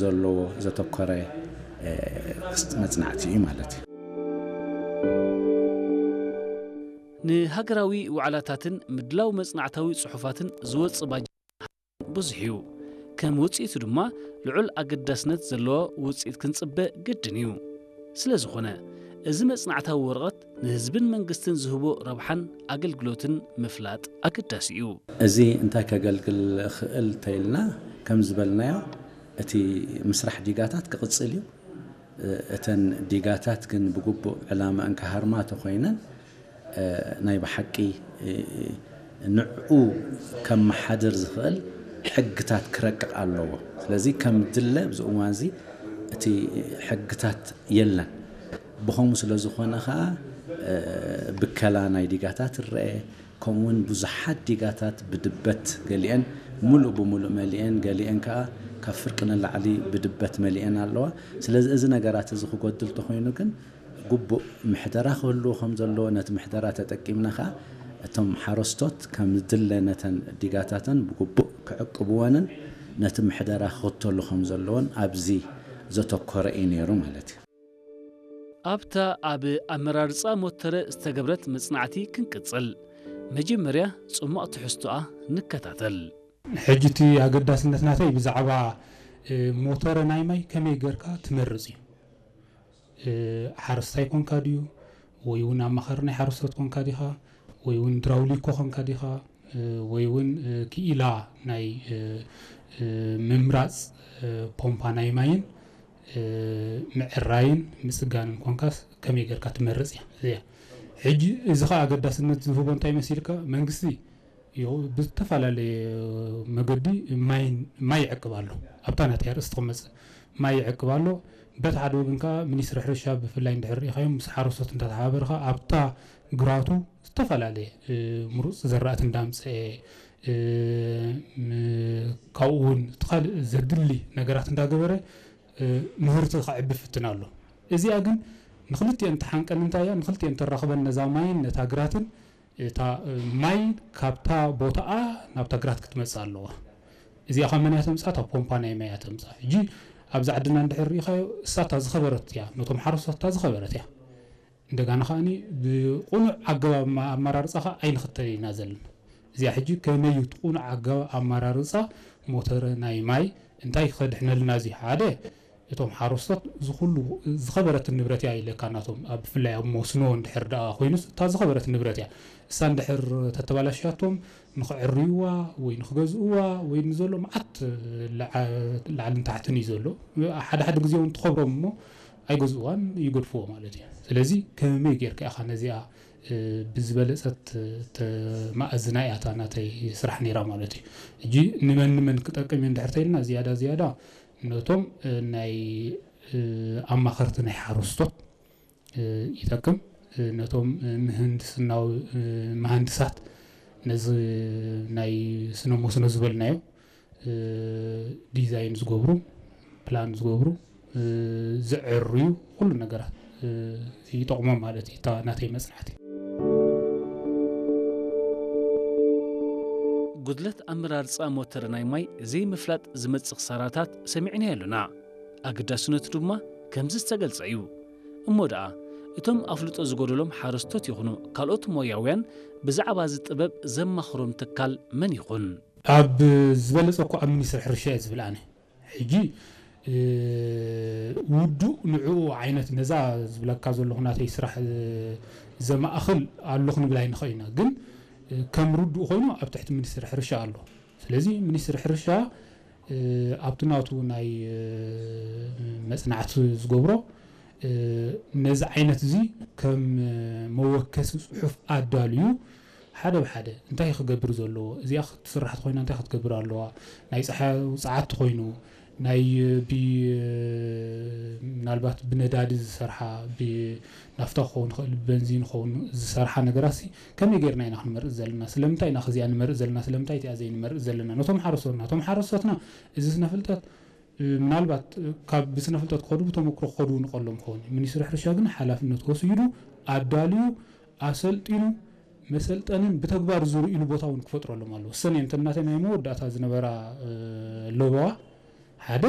ዘለዎ ዘተኮረ መፅናዕቲ እዩ ማለት እዩ። ንሃገራዊ ዋዕላታትን ምድላው መጽናዕታዊ ጽሑፋትን ዝወጽእ ባጀት ብዙሕ እዩ። ከም ውጽኢቱ ድማ ልዑል ኣገዳስነት ዘለዎ ውጽኢት ክንጽበ ግድን እዩ። ስለ ዝኾነ እዚ መጽናዕታዊ ወረቐት ንህዝብን መንግስትን ዝህቦ ረብሓን ኣገልግሎትን ምፍላጥ ኣገዳሲ እዩ። እዚ እንታይ ከገልግል ክእል ተይልና ከም ዝበልናዮ እቲ ምስራሕ ዲጋታት ክቕጽል እዩ። እተን ዲጋታት ግን ብግቡእ ዕላማ እንከሃርማ ተኾይነን ናይ ብሓቂ ንዕኡ ከመሓድር ዝኽእል ሕግታት ክረቅቕ ኣለዎ። ስለዚ ከም ድለ ኣብዚ እዋን እዚ እቲ ሕግታት የለን። ብኸምኡ ስለ ዝኾነ ከዓ ብከላ ናይ ዲጋታት ይረአ። ከምኡውን ብዙሓት ዲጋታት ብድበት ገሊአን ሙሉእ ብሙሉእ መሊአን ገሊአን ከዓ ካብ ፍርቂ ንላዕሊ ብድበት መሊአን ኣለዋ። ስለዚ እዚ ነገራት እዚ ክጎድል ተኾይኑ ግን ግቡእ ምሕደራ ክህልዎ ከም ዘለዎ ነቲ ምሕደራ ተጠቂምና ከዓ እቶም ሓረስቶት ከም ዝድለ ነተን ዲጋታተን ብግቡእ ክዕቅብወንን ነቲ ምሕደራ ክኽተሉ ከም ዘለዎን ኣብዚ ዘተኮረ እዩ ነይሩ ማለት እዩ። ኣብታ ኣብ ኣመራርጻ ሞተረ ዝተገብረት መጽናዕቲ ክንቅጽል፣ መጀመርያ ጽሟቕ ትሕዝቶኣ ንከታተል። ሕጂ እቲ ኣገዳስነት ናተይ ብዛዕባ ሞተረ ናይ ማይ ከመይ ጌርካ ትመርጽ እዩ። ሓረስታይ ኮንካ ድዩ ወይ እውን ኣማኻሪ ናይ ሓረስቶት ኮንካ ዲኻ ወይ እውን ድራውሊኮ ኮንካ ዲኻ ወይ እውን ክኢላ ናይ ምምራፅ ፖምፓ ናይ ማይን ምዕራይን ምፅጋንን ኮንካስ ከመይ ጌርካ ትመርፅ እያ እዚያ። ሕጂ እዚ ከዓ ኣገዳስነት ዝህቦ እንታይ መሲልካ መንግስቲ ብዝተፈላለየ መገዲ ማይ ይዕቅብ ኣሎ ኣብታ ናተይ ኣርእስቲ ክመፅእ ማይ ይዕቅብ ኣሎ። በቲ ሓደ ወገን ከዓ ሚኒስትሪ ሕርሻ ብፍላይ እንድሕር ርኢኻዮም ምስ ሓረስቶት እንዳተሓባበርካ ኣብታ ግራቱ ዝተፈላለየ ምሩፅ ዘራእቲ እንዳምፀአ ካብኡ እውን እቲ ካልእ ዘድሊ ነገራት እንዳገበረ ምህርቲ ከዕቢ ፍትን ኣሎ። እዚኣ ግን ንክልቲአን ትሓንቀን እንታይ እያ ንክልቲአን ተራኽበን ነዛ ማይን ነታ ግራትን እታ ማይ ካብታ ቦታኣ ናብታ ግራት ክትመፅእ ኣለዋ። እዚኣ ካብ መን እያ ተምፅኣ? ካብ ፖምፓ ናይ ማይ እያ ተምፅኣ። ሕጂ ኣብዚ ዓድና እንድሕር ርኢኻዮ እሳ እታ ዝኸበረት እያ፣ ነቶም ሓረስቶት እታ ዝኸበረት እያ። እንደጋና ከዓኒ ብቁኑዕ ኣገባብ ኣመራርፃ ከዓ ኣይንኽተል ኢና ዘለና። እዚኣ ሕጂ ከመይ እዩ እቲ ቁኑዕ ኣገባብ ኣመራርፃ ሞተረ ናይ ማይ እንታይ ከድሕነልና እዚ ሓደ እቶም ሓረስቶት ዝኹሉ ዝኸበረትን ንብረት እያ ኢለካ ናቶም ኣብ ብፍላይ ኣብ መስኖ እንድሕር ደኣ ኮይኑስ እታ ዝኸበረት ንብረት እያ እሳ እንድሕር ተተባላሽያቶም ንኽዕርዩዋ ወይ ንኽገዝእዋ ወይ ንዘሎ መዓት ላዕልን ታሕትን እዩ ዘሎ ሓደ ሓደ ግዜ እውን ትኸብሮም እሞ ኣይገዝእዋን ይገድፍዎ ማለት እዩ ስለዚ ከመይ ጌርካ ኢኻ ነዚኣ ብዝበለፀት ተማእዝና እያ እታ ናተይ ስራሕ ነይራ ማለት እዩ። ሕጂ ንመን ንመን ክጠቅም እዩ እንድሕር ተይልና ዝያዳ ዝያዳ ነቶም ናይ ኣማኸርቲ ናይ ሓረስቶት ይጠቅም፣ ነቶም ምህንድስናዊ መሃንድሳት ነዚ ናይ ስነ መስኖ ዝበልናዮ ዲዛይን ዝገብሩ፣ ፕላን ዝገብሩ፣ ዝዕርዩ ኩሉ ነገራት ይጠቕሞም ማለት እዩ። እታ ናተይ መፅናዕቲ ጉድለት ኣመራርፃ ሞተር ናይ ማይ ዘይምፍላጥ ዝመፅእ ክሳራታት ሰሚዕናዮ ኣለና። ኣገዳስነቱ ድማ ከምዚ ዝተገልፀ እዩ። እሞ ደኣ እቶም ኣፍልጦ ዝጎደሎም ሓረስቶት ይኹኑ ካልኦት ሞያውያን ብዛዕባ እዚ ጥበብ ዘማኽሮም ትካል መን ይኹን? ኣብ ዝበለፀ እኮ ኣብ ሚኒስትሪ ሕርሻ እየ ዝብል ኣነ። ሕጂ ውዱእ ንዕኡ ዓይነት ነዛ ዝብለካ ዘለኹ ናተይ ስራሕ ዘማእኽል ኣለኹ ንብል ኣይንኽእል ኢና። ግን ከም ርዱእ ኮይኑ ኣብ ትሕቲ ሚኒስትሪ ሕርሻ ኣሎ። ስለዚ ሚኒስትሪ ሕርሻ ኣብቲ ናቱ ናይ መፅናዕቲ ዝገብሮ ነዚ ዓይነት እዚ ከም መወከሲ ፅሑፍ ኣዳልዩ ሓደ ብሓደ እንታይ ክገብር ዘለዎ እዚኣ ክትስራሕ ኮይና እንታይ ክትገብር ኣለዋ ናይ ፀሓይ ውፅዓት ኮይኑ ናይ ብ ምናልባት ብነዳዲ ዝሰርሓ ብናፍታ ክኸውን ይኽእል ብበንዚን ክኸውን ዝሰርሓ ነገራት ሲ ከመይ ጌርና ኢና ክንመርፅ ዘለና ስለምንታይ ኢና ከዚኣ ንመርፅ ዘለና ስለምንታይ እቲኣ ዘይንመርፅ ዘለና ነቶም ሓረስቶትና እቶም ሓረስቶትና እዚ ስነ ፍልጠት ምናልባት ካብ ብስነ ፍልጠት ክኸዱ ብተመክሮ ክኸዱ ንቀሎም ክኸውን ሚኒስትሪ ሕርሻ ግን ሓላፍነት ወሲዱ ኣዳልዩ ኣሰልጢኑ መሰልጠንን ብተግባር ዝርእሉ ቦታ እውን ክፈጥረሎም ኣለዎ። እሰን እየን እተን ናተይ ናይ መወዳእታ ዝነበራ ለበዋ ሓደ